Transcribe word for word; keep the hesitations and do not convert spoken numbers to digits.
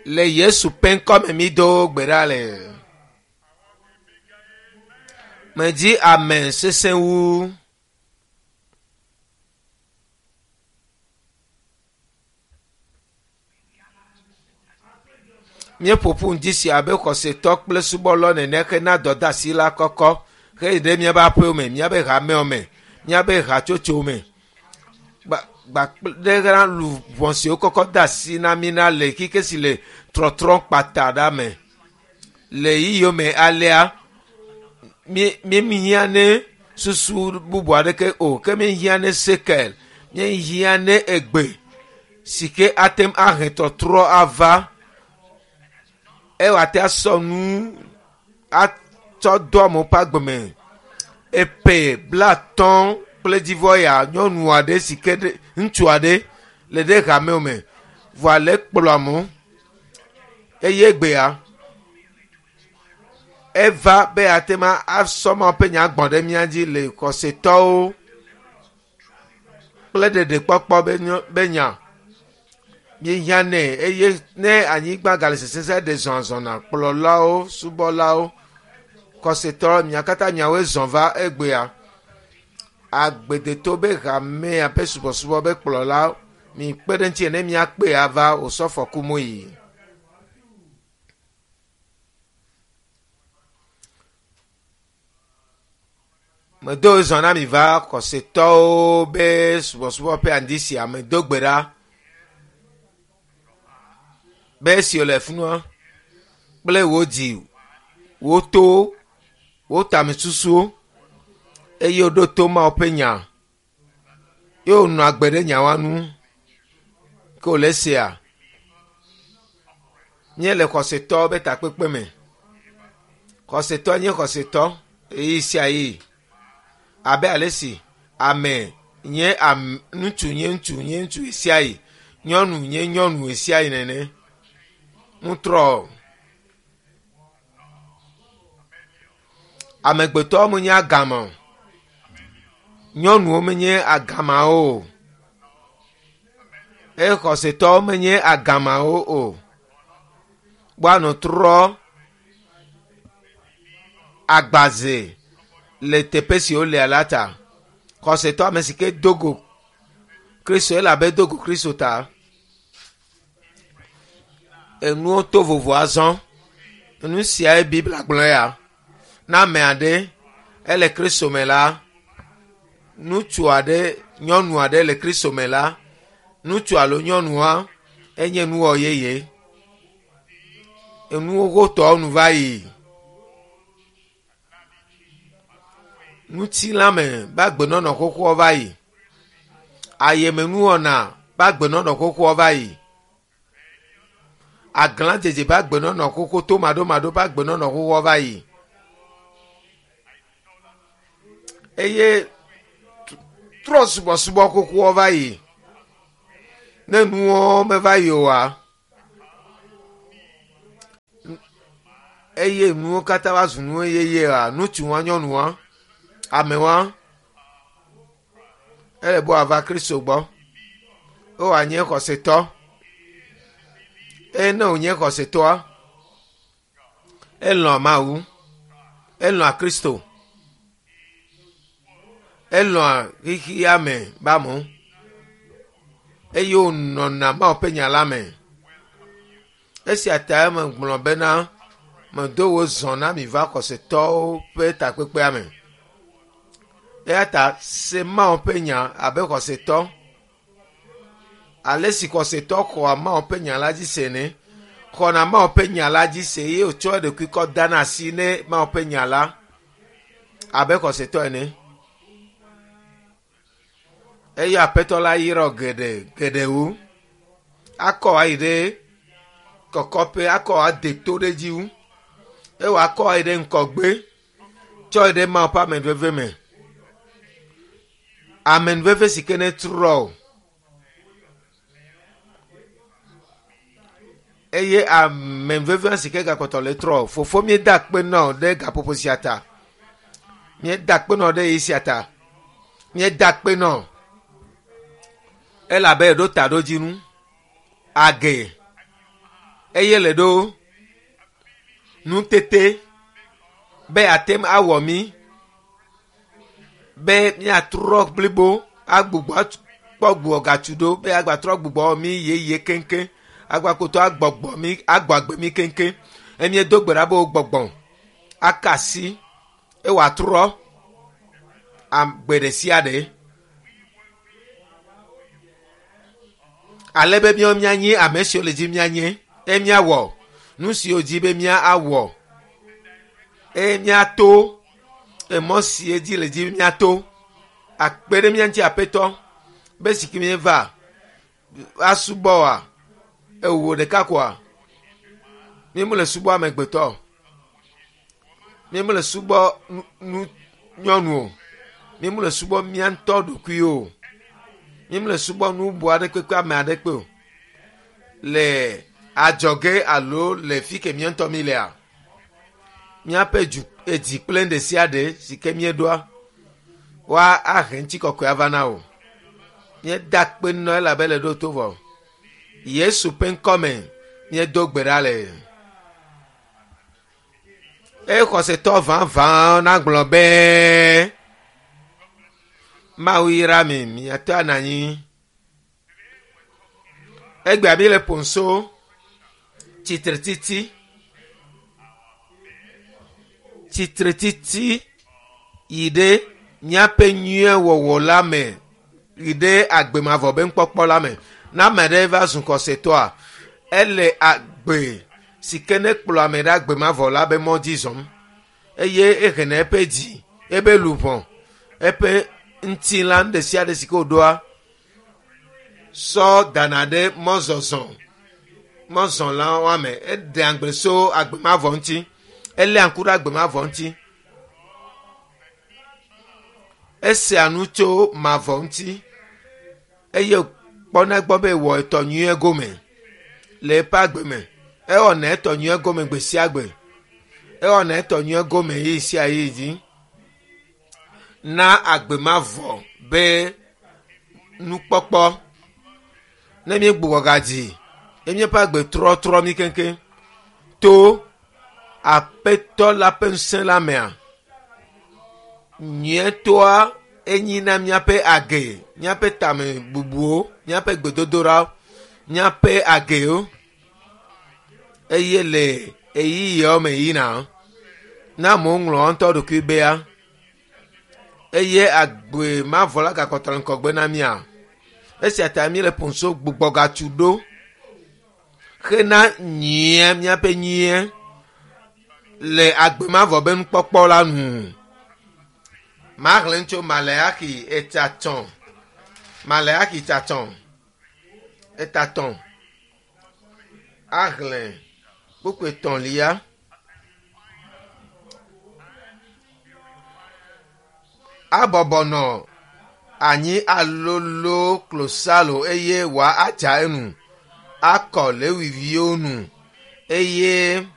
Le Yesu ƒe ŋkɔme mi do gbe ɖa le. Medzi ame sesẽ wu. Míeƒo ƒu ŋdi sia abe xɔsetɔ kple subɔlɔ nene hena dɔdeasi la kɔkɔ heyi ɖe míaƒe aƒewo me, míaƒe hamewo me, míaƒe hatsotsowo me. Gbakple ɖe luʋɔ siwo kɔkɔ de asi na mí na le xixi si le trɔtrɔ kpata ɖa me. Le yiyiwo me alea, mí míhiã ne susu bubu aɖeke o, ke míhiã ne sekel, míhiã ne egbe si ke ate ŋu ahe trɔtrɔ ava. Eye ate asɔ nu atsɔ do amewo ƒe agbe me. Epe blatɔ̃ kple dzivɔ ya nyɔnu aɖe si ke ɖe ŋutsu aɖe le ɖe hamewo me vɔa le kplɔ amewo eye egbea eva be ate ma asɔ Mawu ƒe nya gbɔ̃ ɖe mía dzi le xɔsetɔwo kple ɖeɖekpɔkpɔ be nyɔ be nya. Míehiã nɛ eye ne anyigba gale sesẽ ɖe zɔzɔna kplɔlawo, subɔlawo, xɔsetɔ mia katã miawoe zɔ̃ va egbea. Agbedeto be hamea ƒe subɔsubɔ be kplɔla mi kpe ɖe ŋuti ne miakpe ava wòsɔfɔ mo yi. Medo zɔ na mi va xɔsetɔwo be subɔsubɔ ƒe andi sia medo gbe ɖa be esi wòle funua kple wò dzi, wò towo, wò tamesusuwo eye woɖo to Mawu ƒe nya ye wònɔ agbe ɖe nyawoa nu ke wòle sea. Míele xɔsetɔwo be takpekpe me. Xɔsetɔ nye xɔsetɔ ɣeyiɣi sia ɣeyiɣi abe ale si ame nye am ŋutsu nye ŋutsu nye ŋutsu ɣe nyɔnu nye nyɔnu ɣe nene. Ŋutrɔ amegbetɔwo menye agama o. Nyɔnuwo menye agamawo o. Eye xɔsetɔwo menye agamawo o. Woanɔ trɔ agbaze le teƒe si wolea la ta. Xɔsetɔ ame si ke do go Kristo elabe do go Kristo ta. Enuwo to vovo azɔ. Nu siae Biblia gblɔ ya. Ne ame aɖe ele Kristo me la, ŋutsu aɖe, nyɔnu aɖe le Kristo me la, ŋutsu alo nyɔnua enye nuwɔ yeye. Enuwo xotɔwo nu va yi. Ŋutilãme be agbenɔnɔ xoxoa va yi. Ayemenuwɔna be agbenɔnɔ xoxoa va yi. Aglãdzedze be agbenɔnɔ xoxo tomaɖomaɖo be agbenɔnɔ xoxoa va yi. Eye trɔ subɔsubɔ xoxoa va yi. Ne nuwo meva yi oa, eye nuwo katã va zu nuwo yeyea, ŋutsuwa, nyɔnuwa, amewa, ele be wòava Kristo gbɔ. Eye wòanye xɔsetɔ. Eye ne wònye xɔsetɔa, elɔ̃a Mawu, elɔ̃a Kristo, elɔ̃a xexea me be amewo eye wònɔna Mawu ƒe nya la me. Esia ta megblɔ bena medo wò zɔ na mi va xɔsetɔwo ƒe takpekpea me. Eya ta se Mawu ƒe nya abe xɔsetɔ. Ale si xɔsetɔ xɔa Mawu ƒe nya la dzi se ne, xɔna Mawu ƒe nya la dzi se eye wòtsɔ eɖokui kɔ dana asi ne Mawu ƒe nya la abe xɔsetɔ ene. Eye Aƒetɔ la yra wò geɖe geɖe wu. Akɔ ayi ɖe kɔkɔƒe, akɔ ade to ɖe dzi wu. Eye wòakɔ ayi ɖe ŋgɔgbe, tsɔ yi ɖe Mawu ƒe amenuveve me. Amenuveve si ke netrɔ o. Eye amenuveve si ke gakpɔtɔ le trɔ o. Fofo míeda akpe na wò ɖe gaƒoƒo sia ta. Míeda akpe na wò ɖe ɣeyiɣi sia ta. Míeda akpe na wò elabe eɖo taɖodzinu. Age Eye le ɖo nutete be ate ŋu awɔ mí be míatrɔ blibo agbugbɔ kpɔ gbugbɔgatsu ɖo be agbatrɔ gbugbɔ wɔ mí yeye keŋkeŋ agbakotɔ agbɔgbɔ mí agbɔ agbe mí keŋkeŋ emie do gbe ɖa be wo gbɔgbɔ aka asi eye wòatrɔ agbe ɖe sia ɖe ale be míawo míanye ame siwo le dzi míanye eye míawɔ nu siwo dzi be míawɔ eye míato emɔ sie dzi le dzi míato akpe ɖe mía ŋuti aƒetɔ be si ke míeva asubɔ wa ewò ɖeka koa mímele subɔ amegbetɔ o mímele subɔ nu nu nyɔnu o mímele subɔ mía ŋutɔ ɖokui o mímele subɔ nu bu aɖe kpekpe ame aɖe kpe o le adzɔge alo le fi ke mía ŋutɔ mi lea míaƒe dzu edzi kple ɖe sia ɖe si ke míeɖoa woa ahe ŋutikɔkɔe ava na o míeda akpe nɔ elabe le ɖo to vɔ yesu ƒe ŋkɔme míedo gbe ɖa le eye xɔsetɔ vavã nagblɔ be mawu yra mi miate anɔ anyi egbea mi le ƒonso tsitretiti tsitretiti yi ɖe míaƒe nyuiewɔwɔ la me yi ɖe agbemavɔ be nukpɔkpɔ la me ne ame aɖe va zu xɔsetɔa ele agbe si ke ne kplɔ ame ɖe agbemavɔ la be mɔ dzi zɔm eye ehena eƒe dzi ebe luʋɔ eƒe ŋutilã nu ɖe sia ɖe si ke wòɖoa sɔ dana ɖe mɔzɔzɔ mɔzɔla me eɖea ŋugble so agbemavɔ ŋuti eléa ŋku ɖe agbemavɔ ŋuti esea nu tso mavɔ ŋuti eye kpɔna gbɔ be wɔ etɔ nyuie gome le eƒe agbe me ewɔna etɔ nyuie gome gbe sia gbe ewɔna etɔ nyuie gome yi sia yi dzi na agbemavɔ be nukpɔkpɔ ne míegbugbɔ gadzi ye míaƒe agbe trɔtrɔ mí keŋkeŋ to aƒetɔ la ƒe ŋusẽ la mea nyuietɔa enyi na míaƒe age míaƒe tame bubuwo míaƒe gbedodoɖawo míaƒe agewo eye le ɣeyiɣiawo me yina ne amewo ŋlɔ woa ŋutɔ ɖokui bea eye agbe mavɔ la gakpɔtɔ le ŋgɔgbe na mía esia ta míele ƒonso gbugbɔgatsu ɖo hena nyuie míaƒe nyuie le agbe mavɔ be nukpɔkpɔ la nu maxlẽ tso maleaxi etatɔ maleaxi tatɔ etatɔ axlẽ kpukpu etɔ̃lia abɔbɔ nɔ anyi alolo klosalo eye wòa adza enu akɔ lewiviwo nu eye